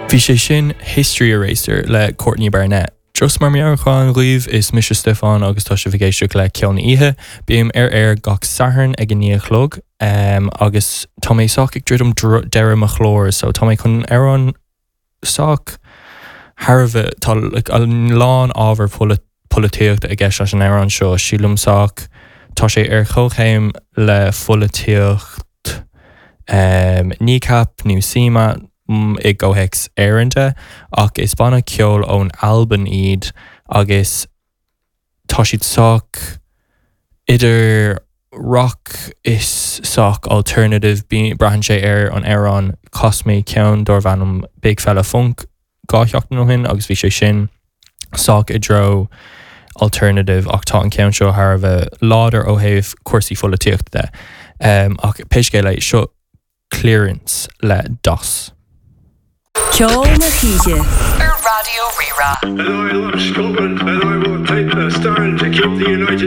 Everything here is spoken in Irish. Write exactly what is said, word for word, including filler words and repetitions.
Bhí sé sin History Eraser le Courtney Barnett. Just mar meabhrúchán daoibh is mise Stefan agus tá sibh ag éisteacht le Ceol na hOíche, Bím ar air gach Satharn ag a naoi a chlog um, agus tá mé sách ag druidim deireadh mo chlár, so tá mé chun amhrán sách thar a bheith tá like, a lán ábhar polaitíochta i gceist leis an amhrán seo sílim sách tá sé ar chomhchéim le pholaitíocht um, Kneecap nó CMAT i gcomhthéacs Éireannach ach is banna ceoil ón Albain iad agus tá siad sách idir rock is sách alternative braitheann sé ar an amhrán chas mé ceann darbh ainm Big Fella Funk dhá sheachtain ó shin agus bhí sé sin sách i dtreo alternative ach tá an ceann seo thar a bheith láidir ó thaobh cúrsaí polaitíochta de. Um, ach pé scéal é seo Clearance le Das. Ceol na hOíche Ar Raidió Rí-Rá. And I love Scotland and I will take the stand to keep the United